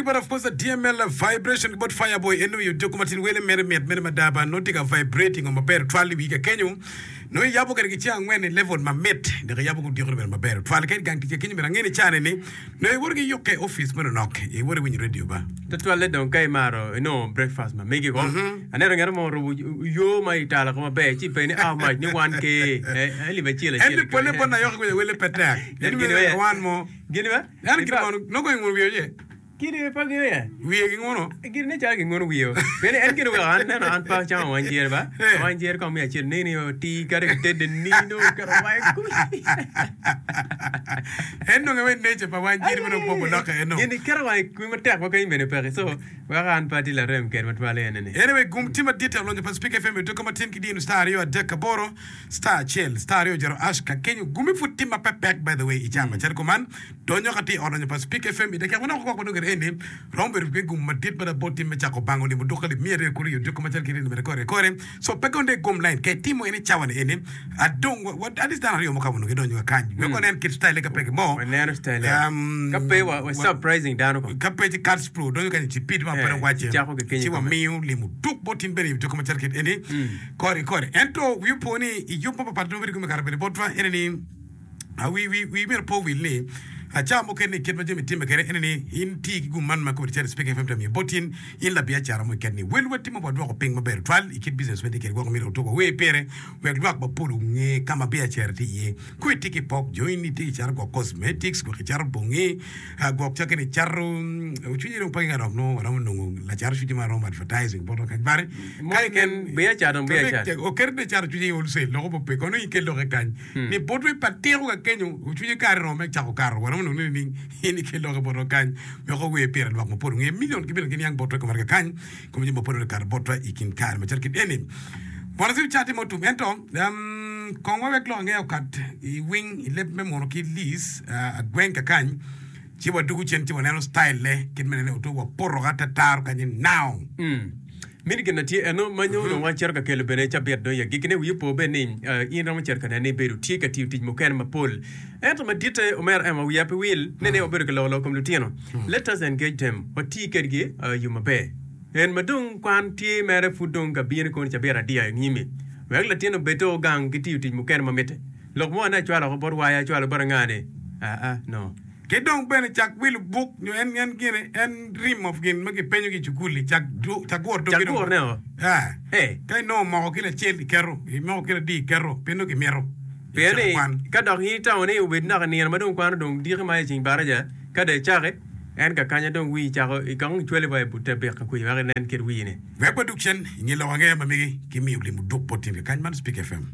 but of course DML vibration ki bot Fireboy en nongo i odiko matin wele mere mit mene mada ba nongo tye ka vibrating o maber twal i wii kakenyo nongo iyabo kede ki ceng angwen i level mamit dok iyabo ki odiko ni bene maber twal ka i gang tic kakenyo bene ange ni cane ni nongo iwoto ki yukke office meno nok iwoto iwinyo radio ba. Tutwalle dong ka imaro inongo breakfast ma megi ko. Aneno ngat mo orubo yo ma italo ko maber ci ipenye ni how much ni 1K eh alip acel acel. En ni pole bot nayoki kwede wele pe tek. En Gin wan mo. Gin ba? En gin mono nongo inguno wiye oye? Gin pe gingeyo ye. Wiye ginguno? Gin ne calo ginguno wiye. Pien en gin oweko an neno an pe acamo wang jere ba. Wang jere kong miyo acel nini oti kadi kitede nino oketo wange kuc. En dong awe nature pa wang jere meno opogo lokke eno. Gin iketo wange kuc matek ma kany bene peke. So weko an pe atye larem kede matwal ene ni. Anyway, gum tye madit i olonyo pa Spik FM i odiko matin ki dino star aryo 38 star acel star aryo jero ash ka kenyo gumi pud tye ma pe pek by the way i cama calo kuman donyo ka tye i ot lonyo pa Spik FM i dakika manok gwok madong kede eni romo bedo ki gum madit mada bot tim me cako bango limo duka alip miya aryo kulu i odiko macalo kit eni bene kore kore so pe gonde gum line ka itimo en i cawa ni eni adong wa, wa, at least dano aryo mo ka onongo gidonyo ka kany wek wanen kit style ka peke mo Waneno style Um, ka pe wa, wa surprising dano ko. ka pe ci Cards Pro donyo kany ci pid ma Eh, pe dong wace ci cako ki kenyo ci kome. wamiyo limo duk bot in bene i odiko macalo kit eni Kore ki kore. Ento wi opo ni i yub mo papat ma bedo kome kare bene botwa ene ni, wi, wi, wi myero pe owil ni ca mukene i kit ma jami timme kwede ene ni in ti ki gum man ma kome calo Speak FM tye miyo bot in, in labiacara mo iket ni wel wa timo wadwoko piny maber tutwal i kit business ma itye kwede gwoko myero otuk wa wer pire wek lwak mapol onge ka ma biacara tye iye. Kong itye ki pok join itye ki cato gwok cosmetics gwok icato bongi Gwok cakke ni cato cwinye dong pe ka dok nongo waromo nongo lacat cwinye ma romo advertising botwa kany bari Mo keken biya cato biya cat. Oketo ni cato cwinye i wholesale loko mo pe kono in kel loke kany ni botwa i patiko ka kenyo cwinye kare romo me cako kato waromo nongo ni nining in ikel loke botwa kany wek ower pire lwak mapol onge million ki million giniang botwa i kom arga kany kom jami mapol okato botwa i kin kare macalo kit eni Bwana Siu cati mo tum ento Kong wawek lok angeya okat i wing i leb me muno ki Liz agweng kakany ci wadugu cen ci waneno style ne kit me nene oto wapoto ka tetaro kany ni now. Mini gin na tye eno ma nyo dong wacito ka kelo bene cabit dong i agikkine wiyi opo bene ni in iromo cito ka nene ni ibedo tye ka tiyo tic mukene mapol ento maditte omera Emma wiya pe wil ne ni wabedo ka loko lok kom lutino let us engage them wati kedgi yo maber. En ma dong kwan tye mere pud dong ka bino koni cabit adiya i nyimi, wek latin obed to gang ki tiyo tic mukene ma mitte. Lok mo ane acwalo oko bot waya acwalo bot anga ni? Aa, no. Ki dong bene cak wilo buk nyo en en gine en rim of gin ma kipenyo ki i cukul-li cak cak guro doggi Cak dong. gurone o. Aa. Ee. Ka inongo moko kilo acel iketo, imoko kilo adi iketo, pien nongo kimito i Pien cako ni kwan. ka dok in itamo ni obed naka nino ma dong kwano dong diki ma i ceng baraja, ka dong icaki, En kakanya dong wii cako i kong icwali wa i but te bik ka kwica wek inen kit wii ni. Wek wadug cen i nge lok angeya ma megi ki miyo limo duk bot tin kakany man Speak FM.